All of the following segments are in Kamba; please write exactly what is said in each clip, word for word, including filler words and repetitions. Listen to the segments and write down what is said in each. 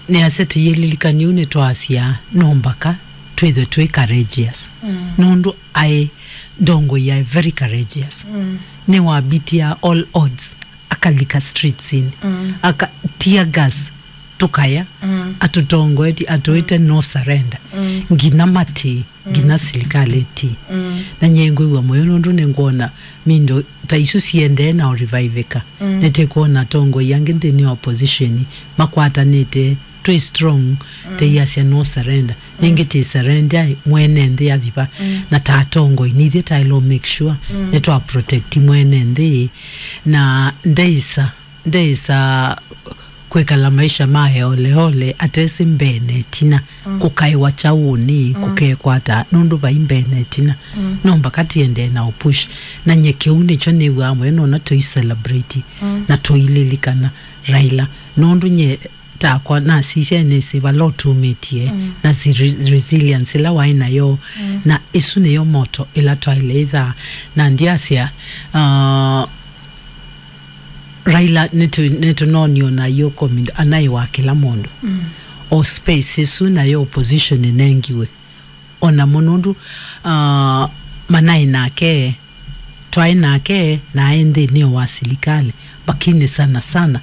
Nĩasya tĩyĩlilikany'a ũu nĩtwasya no mbaka twĩthwe twĩ courageous. Mm. Nũndũ aĩ ndongoi yaĩ very courageous. Mm. Nĩwabitia all odds, akalika streetsini, mm, aka tear gas, tũkaya, mm, atũtongoetye, atũĩte, mm, no surrender. Mm. Nginya mati, mm, nginya silikalĩ ti. Mm. Na nyie ngwĩw'a mũyo nũndũ nĩngwona mindo ta isu siendee na ũreviveka. Mm. Nĩtĩkwona atongoi angĩ nthĩnĩ wa opposition makwatanĩte, twĩ strong, mm, teiasya no surrender. Mm. Nĩngĩ tĩ surrender mwene nthĩ athiva. Mm. Na ta atongoi, nithyĩ taĩlwa make sure, mm, nĩtwa protect mwene nthĩ na ndeisa, ndeisa kwĩkala maisha ma oleole, atesĩ mbee na ĩtina, mm, kũkaĩwa kyaũnĩ, mm, kũkekwata, nũndũ vai mbee na ĩtina. Mm. No mbaka tiendee na ũpush. Na nye kĩu nĩkyo nĩw'aa mũyo nona tũi celebrate, mm, na tũililikana Raila. Nũndũ nye takwa nasisya nĩsĩ vala ũtumĩtie, mm, na si re-, resilience ĩla waĩ nayo, mm, na ĩsu nĩyo moto ĩla twaĩle ĩthaa. Na ndiasya, uh, Raila nĩtũ-, nĩtũnonio na yo comment anaĩ wa kĩla mũndũ. Mm. O space ĩsu nayo opposition ĩnengiwe. Ona mũno ũndũ, uh, manaĩ nake, twaĩ nake, na aĩ nthĩnĩ wa silikalĩ, lakini sana sana,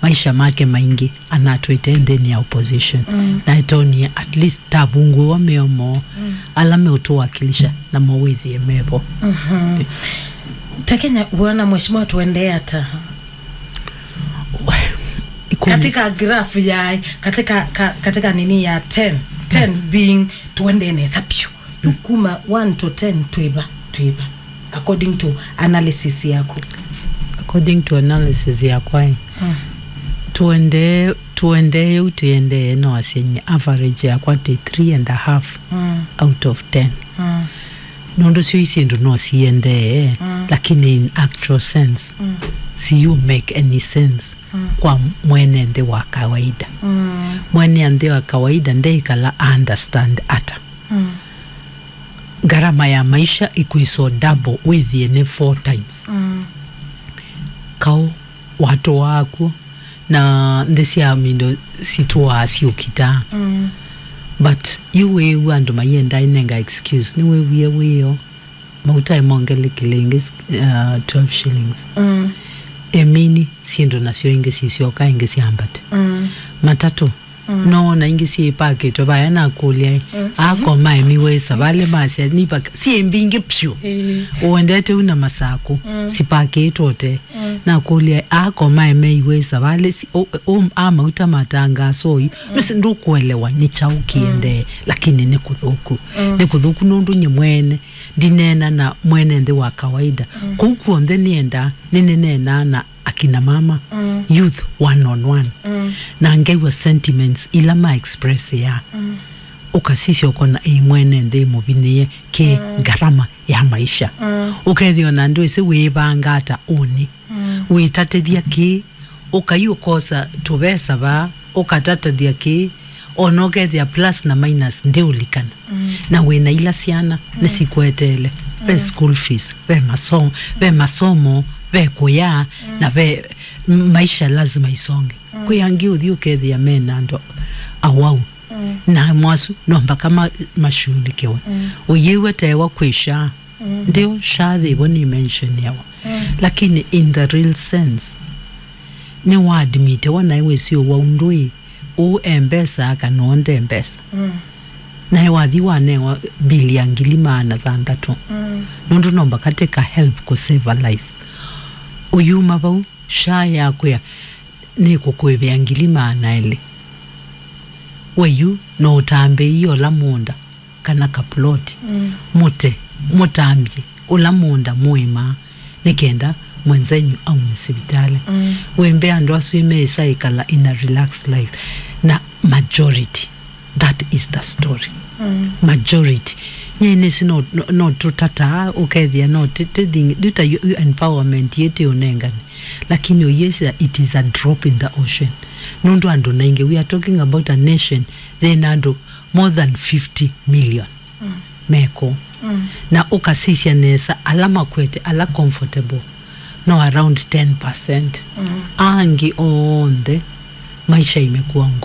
maisha make maingĩ anatwĩte nthĩnĩ ya opposition. Mm. Na ĩtonie at least tavungũĩwa mĩomo, mm, ala meũtũwakilisha na mawĩthĩe mevo. Mhm. Eh. Ta Kenya, wona mheshimiwa tuendee ata? Ikũmi. Katika graph ya, katika, ka-, katika nini ya ten, ten, mm, being tuendee nesa piũ. Yu kuma one to ten, twĩva, twĩva, according to analysis yaku? According to analysis yakwa, eh, mm, tuendee, tuendee ũu, tuendee no asya nye average yakwa ti three and a half, mm, out of ten. Mm. Nũndũ syo isyĩndũ no siendee, mm, lakini in actual sense, mm, si you make any sense, mm, kwa mwene nthĩ wa kawaida. Mm. Mwene nthĩ wa kawaida ndeĩkala understand ata. Mm. Ngarama ya maisha ĩkwĩswa double wĩthĩe nĩ four times. Mm. Kaũ watũaa kw'o, na nthĩ sya mindo sitũaa syũkitaa. Mm. But yu wĩĩw'a andũ maiendaa inenga excuse, nĩwĩwie wĩoo, mauta ĩmongelekile ĩngĩ, uh, twelve shillings. Mm. Emini, syĩndũ nasyo ingĩ sisyoka ingĩ syambate. Mm. Matatũ, mm, noona ingĩ syĩpakĩtwe vaya nakũlya, mm, akoma emi wĩsa vale masya nipaka syĩ mbingĩ pyũ. Ĩĩ. Ũendete u na masakũ, mm, sipakĩtwe ũte. Mm. Nakũlya akoma eme iwĩsa vale si, o, o, a mauta matangaso yu. Mm. Nũsi ndũkũelewa nĩ kyaũ kĩendee, mm, lakini nĩ kũthũku. Mm. Nĩ kũthũku nũndũ nye mwene ndineena na mwene nthĩ wa kawaida. Mm. Kũu kw'onthe nĩendaa, nĩnĩneenaa na akina mama, mm, youth one on one. Mm. Na ngew'a sentiments ila ma express ya. Mm. Ũkasisya ũkona ĩ mwene nthĩ mũvinĩe kĩ, mm, ngarama ya maisha. Mm. Ũkethĩa ona ndwĩsĩ wĩĩvanga ata ũnĩ. Mm. Wĩtatĩthya kĩ, ũkai ũkosa tũvesa vaa, ũkatatĩthya kĩ, ona ũkethĩa plus na minus ndĩũlikana. Mm. Na wĩna ila syana, mm, nĩsikweteele. Ve, mm, school fees, ve maso-, ve masomo, ve kũya, mm, na ve m-, maisha lazima isonge. Mm. Kwĩ angĩ ũthi ũkethĩa mena andũ awau. Mm. Na mwasu no mpaka ma-, mashughulikiwe. Mm. Ũyĩw'a tewa kwĩ SHA. Mm. Ndio, SHA thĩvo nĩ mention yawa. Mm. Lakini in the real sense, nĩ wa admit wa naĩ wĩsĩ ũwa ũndũ ĩ, ũũ e mbesa kana ũũ nde mbesa. Mm. Naĩ wathi wanewa bill ya ngili maana thanthatũ. Mm. Nũndũ no mbaka take a help kũ save a life. Ũyuma vau, SHA yakwĩa, nĩkũkũĩvĩa ngili maana elĩ. We yu no ũtambĩĩie ũla mũũnda kana kaploti. Mm. Mũte, mũtambye ũla mũũnda mũĩmaa nĩ kenda mwenzenyu aume sivitalĩ. Mm. Wĩmbe andũ asu meĩsa ĩkala in a relaxed life. Na majority, that is the story. Mm. Majority. Nyie nĩsĩ no, no, no tũtataa ũkethĩa no ti, ti thing, nduta yu, yu empowerment yĩtĩ ũnengane. Lakini ũyĩsya it is a drop in the ocean. Nũndũ andũ naingĩ, we are talking about a nation, thĩna andũ more than fifty million. Mm. Meko. Mm. Na ũkasisya nesa ala makwete, ala comfortable, no around ten percent. Mm. Angĩ onthe maisha imekuwa ngumu.